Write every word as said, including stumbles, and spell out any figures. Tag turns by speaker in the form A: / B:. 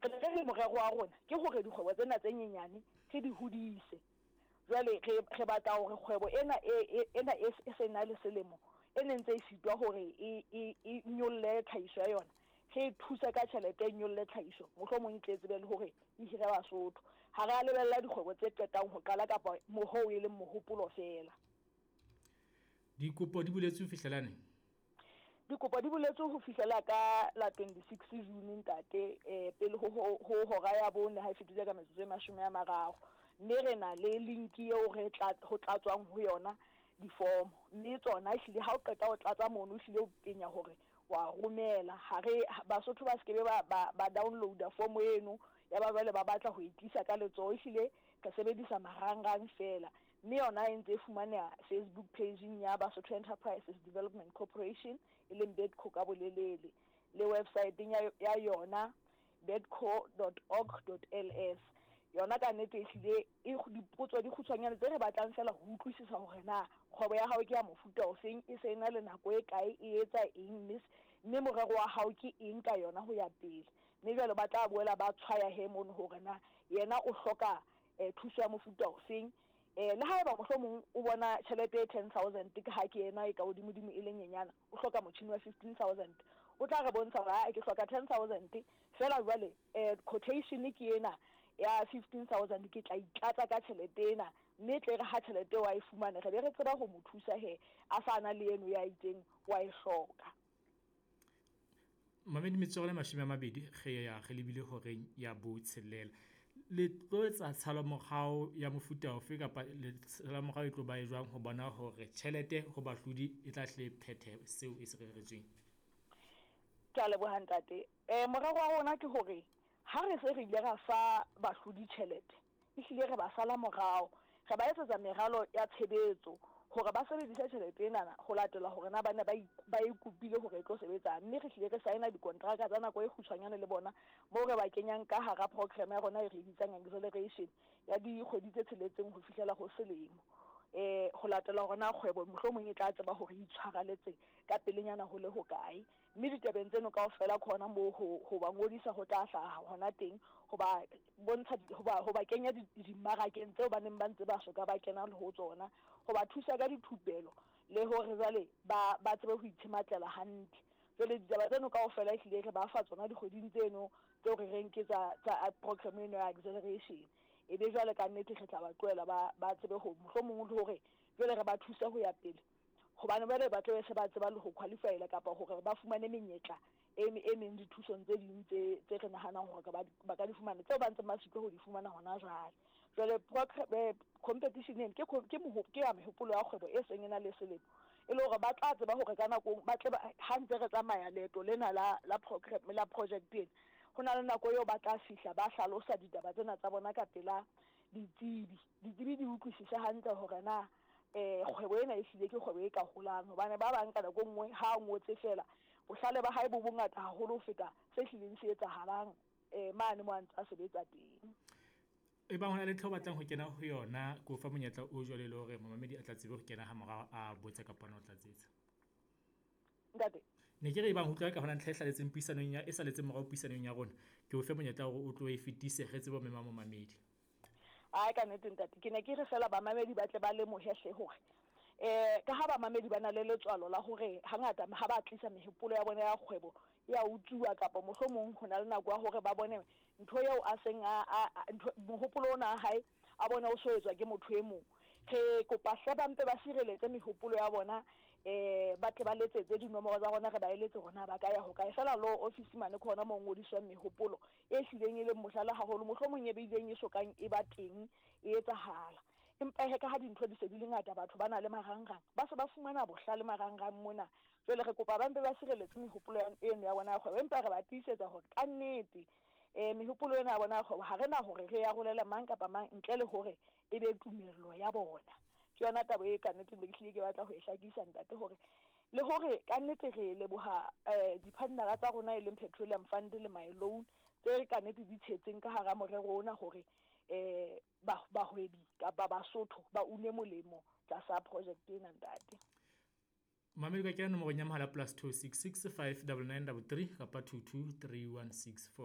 A: Re ne re re morero wa rona ke hore dikgwebo tsena tse nyenyane re di hodise. Jwale re re batla hore kgwebo ena e ena e se na le selemo e ne ntse e sitwa hore e e e nyolle tlhahiso ya yona, re e thuse ka tjhelete e nyolle tlhahiso, mohlomong e tle tsebe le hore e hire Basotho. Ha re a lebella dikgwebo tse qetang ho qala kapa mohoo e leng mohopolo feela.
B: Dikopo di buletswe ho fihlela neng?
A: Dikopo di buletswe ho fihlela ka la twenty-six June ntate, eh pele ho ho hora ya bone ha e fetile ka metsotso e mashome a mararo. Mme re na le link eo re tla ho tlatswang ho yona difomo, mme tsona ehlile ha o qeta ho tlatsa mono, ehlile o penya hore wa romela. Ha re Basotho ba skebe ba ba ba download-a form eno ya ba jwale ba batla ho e tlisa ka letsoho, ehlile re sebedisa marangrang fela. Mme yona e ntse e fumaneha Facebook page-ing ya Basotho Enterprises Development Corporation, e leng BEDCO ka bolelele, le website-eng ya ya yona bedco dot org dot L S. Yona ka nnete ehlile e dipotso di kgutshwanyane tse re batlang fela ho utlwisisa hore na kgwebo ya hao ke ya mofuta ofeng, e se ena le nako e kae, e etsa eng, mme mme morero wa hao ke eng ka yona ho ya pele. Mme jwale ba tla boela ba tshwaya he mono hore na yena o hloka eh, thuso ya mofuta ofeng. Eh, le haeba mohlomong o bona tjhelete e ten thousand ke ha ke ena e ka hodimodimo e le nyenyana, o hloka motjhini wa fifteen thousand, o tla re bontsha hore ha ke hloka ten thousand fela jwale eh, quotation ke ena ya fifteen thousand, ke tla itlatsa ka tjhelete ena, mme tle re ha tjhelete wa e fumane re be re tseba ho mo thusa he a sa na le eno ya itseng wa e hloka.
B: Mamedi metsotso e mashome a mabedi re ya re lebile horeng ya botshelela. Le tlo etsa tshalomorao ya mofuta ofe kapa le tshalomorao e tlo ba e jwang ho bona hore tjhelete ho bahlodi e tla hle phethe seo e se reretsweng?
A: Ke a leboha ntate. Eh morero wa rona ke hore ha re se re ile ra fa bahlodi tjhelete, ehlile re ba sala morao, re ba etsetsa meralo ya tshebetso hore ba sebedise tjhelete enana ho latela hore na ba ne ba ba e kopile hore e tlo sebetsa. Mme re hlile re sign-a dikontraka tsa nako e kgutshwanyane le bona, moo re ba kenyang ka hara program ya rona e re bitsang acceleration ya dikgwedi tse tsheletseng ho fihlela ho selemo, eh ho latela hore na kgwebo mohlomong e tla tseba hore e itshwaraletse ka pelenyana ho le hokae. Mme ditabeng tseno kaofela ke hona moo ho ho ba ngodisa ho tla hlaha hona teng, ho ba bontsha ho ba ho ba kenya dimmarakeng tseo ba neng ba ntse ba soka ba kena le ho tsona, ho ba thusa ka dithupelo le hore jwale ba ba tsebe ho itshematlela hantle. Jwale ditaba tseno kaofela ehlile re ba fa tsona dikgweding tseno tseo re reng ke tsa tsa program eno ya acceleration. E be jwale ka nnete re tla ba tlohela ba ba tsebe ho mohlomong le hore jwale re ba thuse ho ya pele, hobane jwale ba tlabe se ba tseba le ho qualify-ela kapa hore ba fumane menyetla e e meng dithusong tse ding tse tse re nahanang hore ba ba ka di fumana, tseo ba ntseng ba sitwa ho di fumana hona jwale. Jwale competition ena ke ke ke ya mehopolo ya kgwebo e seng e na le selemo, e le hore ba tla tseba hore ka nako ba tle ha ntse re tsamaya leeto lena la la program la project ena, ho na le nako eo ba tla fihla ba hlalosa ditaba tsena tsa bona ka pela ditsebi. Ditsebi di utlwisise hantle hore na eh kgwebo ena ehlile ke kgwebo e ka holang, hobane ba bang ka nako e nngwe ha a ngotse fela bohlale ba hae bo bongata haholo ho feta se hlileng se etsahalang eh mane mo a ntse a sebetsa teng.
B: E bang hona le ntho o batlang ho kena ho yona, ke o fa monyetla o jwale le hore momamedi a tla tsebe ho kena ha morao a botse kapa ona o tlatsetsa.
A: Ntate,
B: ne ke re ebang utlwa ka hona ntlha e hlaletseng puisanong ya e saletseng morao puisanong ya rona, ke o fe monyetla hore o tlo e fetise re tsebe ho mema momamedi.
A: Ai ka nnete ntate, ke ne ke re fela bamamedi ba tle ba lemohe hle hore eh ka ha bamamedi ba na le letswalo la hore hangata ha ba tlisa mehopolo ya bona ya kgwebo ya utsuwa, kapa mohlomong ho na le nako ya hore ba bone ntho eo a seng a ntho mohopolo ona wa hae a bona o so etswa ke motho e mong. Re kopa hle ba mpe ba sireletse mehopolo ya bona, eh ba tle ba letsetse dinomoro tsa rona, re ba eletse hore na ba ka ya hokae. Fela law office mane ke hona moo ngodiswang mehopolo e hlileng e leng mohlala haholo, mohlomong e beileng e sokang e ba teng e etsahala. Empa he ka ha dintho di se di le ngata, batho ba na le marangrang, ba se ba fumana bohlale marangrang mona. Jwale re kopa ba mpe ba sireletse mehopolo eno ya bona ya kgwebo, empa re ba tiisetsa hore ka nnete eh mehopolo ena ya bona ya kgwebo ha re na hore re arolele mang kapa mang ntle le hore e be tumello ya bona. Ke yona taba e ka nnete ne ke hlile ke batla ho e hlakisa ntate, hore le hore ka nnete re leboha eh di-partnera tsa rona e leng Petroleum Fund le My Loan tse ka nnete di tshetseng ka hara morero ona hore eh bahwebi kapa Basotho ba une molemo tlasa project ena ntate.
B: Mamedi ka kena nomorong ya mohala plus two six six five double nine double three kapa two two three one six four.